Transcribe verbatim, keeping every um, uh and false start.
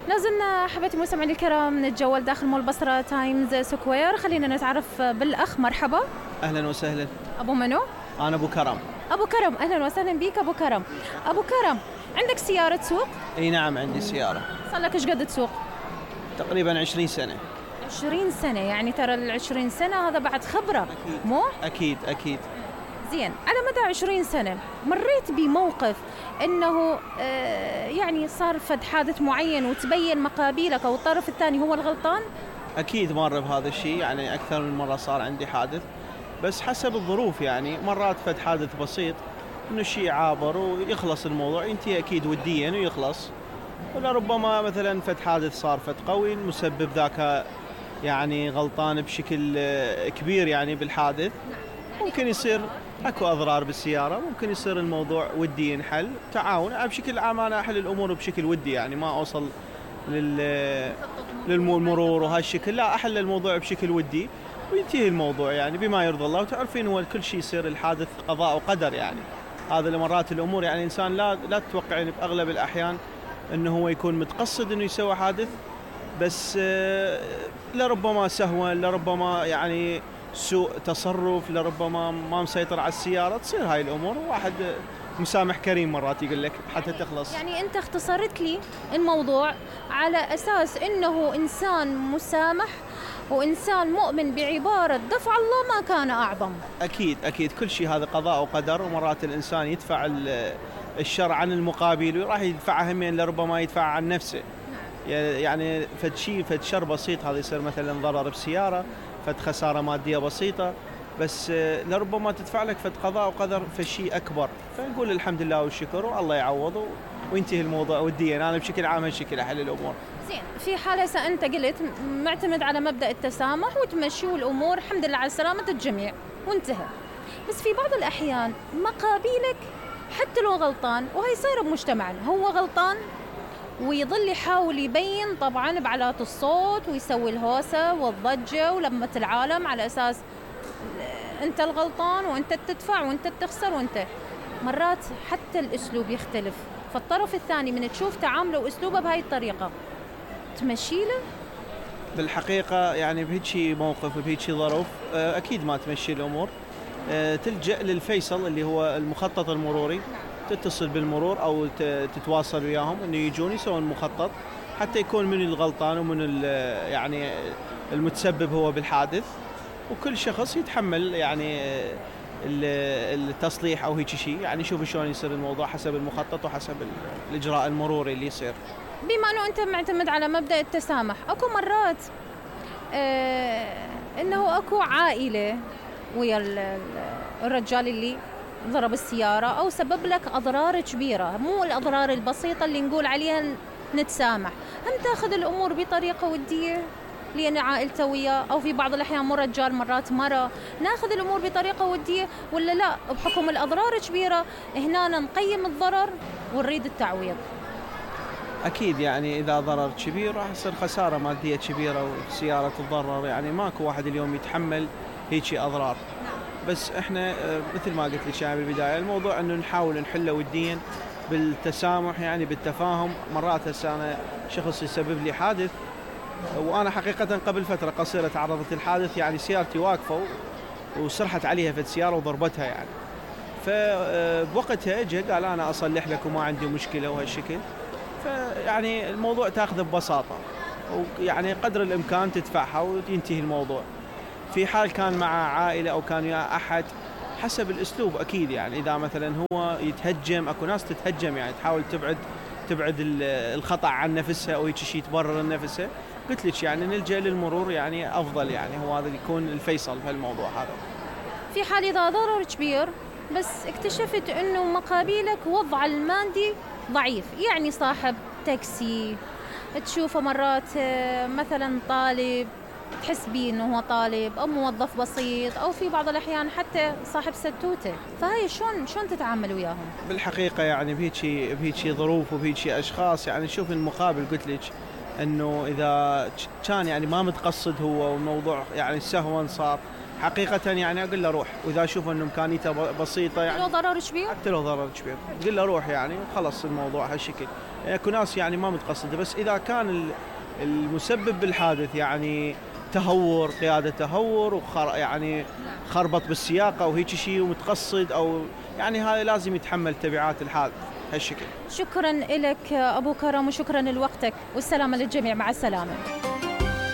لازلنا احبتي مستمعينا الكرام نتجول داخل مول بصرة تايمز سكوير. خلينا نتعرف بالاخ. مرحبا. اهلا وسهلا. ابو منو؟ انا ابو كرم. ابو كرم، اهلا وسهلا بيك ابو كرم. ابو كرم، عندك سيارة تسوق؟ اي نعم عندي سيارة. صار لك ايش قد تسوق؟ تقريبا عشرين سنة. عشرين سنة، يعني ترى العشرين سنة هذا بعد خبرة. أكيد. مو؟ اكيد اكيد. زين، على مدى عشرين سنة مريت بموقف انه آه يعني صار فد حادث معين وتبين مقابيلك او الطرف الثاني هو الغلطان؟ اكيد مر بهذا الشيء، يعني اكثر من مرة صار عندي حادث، بس حسب الظروف. يعني مرات فد حادث بسيط انه شيء عابر ويخلص الموضوع، ينتهي اكيد وديا ويخلص. ولا ربما مثلا فد حادث صار فد قوي المسبب ذاك يعني غلطان بشكل كبير يعني بالحادث، ممكن يصير اكو اضرار بالسياره، ممكن يصير الموضوع ودي ينحل تعاون. بشكل عام انا احل الامور بشكل ودي، يعني ما اوصل لل للمرور وهالشكل، لا احل الموضوع بشكل ودي وينتهي الموضوع يعني بما يرضي الله. وتعرفين هو كل شيء يصير الحادث قضاء وقدر، يعني هذا لمرات الامور يعني الانسان لا لا تتوقعين باغلب الاحيان انه هو يكون متقصد انه يسوي حادث، بس لربما سهوا، لربما يعني سوء تصرف، لربما ما مسيطر على السيارة، تصير هاي الأمور. واحد مسامح كريم مرات يقول لك حتى تخلص. يعني أنت اختصرت لي الموضوع على أساس أنه إنسان مسامح وإنسان مؤمن بعبارة دفع الله ما كان أعظم. أكيد أكيد، كل شيء هذا قضاء وقدر، ومرات الإنسان يدفع الشر عن المقابل وراح يدفعها همين، لربما يدفع عن نفسه. يعني فد شيء فد شر بسيط هذا يصير مثلا ضرر بسيارة، فد خسارة مادية بسيطة، بس لربما تدفع لك فد قضاء وقدر في شيء أكبر. فنقول الحمد لله والشكر والله يعوضه وينتهي الموضوع وديا. أنا بشكل عام هالشكل أحل الأمور. زين، في حالة أنت قلت معتمد على مبدأ التسامح وتمشي والأمور الحمد لله على سلامة الجميع وانتهى، بس في بعض الأحيان مقابيلك حتى لو غلطان، وهي صايرة بمجتمعنا، هو غلطان ويظل يحاول يبين طبعاً بعلات الصوت ويسوي الهوسة والضجة ولمة العالم على أساس أنت الغلطان وأنت تدفع وأنت تخسر وأنت. مرات حتى الأسلوب يختلف، فالطرف الثاني من تشوف تعامله وأسلوبه بهاي الطريقة تمشي له؟ بالحقيقة يعني بهيجي موقف وبهيجي ظروف أكيد ما تمشي الأمور، تلجأ للفيصل اللي هو المخطط المروري. تتصل بالمرور أو تتواصل وياهم إنه يجون يسوون مخطط حتى يكون من الغلطان ومن يعني المتسبب هو بالحادث، وكل شخص يتحمل يعني التصليح أو هيك شيء. يعني شوف شلون يصير الموضوع حسب المخطط وحسب الإجراء المروري اللي يصير. بما أنه أنت معتمد على مبدأ التسامح، أكو مرات آه إنه أكو عائلة ويا الرجال اللي ضرب السيارة أو سبب لك أضرار كبيرة، مو الأضرار البسيطة اللي نقول عليها نتسامح، هم تأخذ الأمور بطريقة ودية لأن عائلته وياه، أو في بعض الأحيان مو رجال مرات مرة، ناخذ الأمور بطريقة ودية ولا لا بحكم الأضرار كبيرة هنا نقيم الضرر ونريد التعويض؟ أكيد يعني إذا ضرر كبير راح يصير خسارة مادية كبيرة والسيارة تتضرر، يعني ماكو واحد اليوم يتحمل هيجي أضرار. بس احنا مثل ما قلت لك يعني بالبدايه الموضوع انه نحاول نحله وديا بالتسامح، يعني بالتفاهم. مرات هسه انا شخص يسبب لي حادث، وانا حقيقه قبل فتره قصيره تعرضت للحادث، يعني سيارتي واقفه وسرحت عليها في السياره وضربتها يعني. فبوقتها اجى قال انا اصلح لك وما عندي مشكله وهالشكل. فيعني الموضوع تاخذه ببساطه، ويعني قدر الامكان تدفعها وينتهي الموضوع. في حال كان مع عائلة أو كان ويا أحد حسب الأسلوب أكيد، يعني إذا مثلا هو يتهجم، أكو ناس تتهجم يعني تحاول تبعد تبعد الخطأ عن نفسها أو هيك شيء تبرر نفسها، قلت لك يعني نلجأ للمرور يعني أفضل، يعني هو هذا يكون الفيصل في الموضوع هذا. في حال إذا ضرر كبير بس اكتشفت إنه مقابلك وضع المادي ضعيف، يعني صاحب تاكسي تشوفه مرات مثلا طالب تحس بيه انه هو طالب او موظف بسيط، او في بعض الاحيان حتى صاحب ستوته، فهي شلون شلون تتعامل وياهم؟ بالحقيقه يعني بهيجي بهيجي ظروف وبهيجي اشخاص، يعني شوف المقابل قلت لك انه اذا كان يعني ما متقصد هو والموضوع يعني سهوا صار، حقيقة يعني أقول له روح، وإذا أشوف إنه إمكانيته بسيطة يعني حتى لو ضرر كبير، حتى لو ضرر كبير قل له روح يعني خلص الموضوع هالشكل. اكو ناس يعني ما متقصده، بس اذا كان المسبب بالحادث يعني تهور، قياده تهور وخر يعني خربط بالسياقه وهيك شيء ومتقصد، او يعني هذا لازم يتحمل تبعات الحادث هالشكل. شكرا لك ابو كرم وشكرا لوقتك والسلامه للجميع، مع السلامه.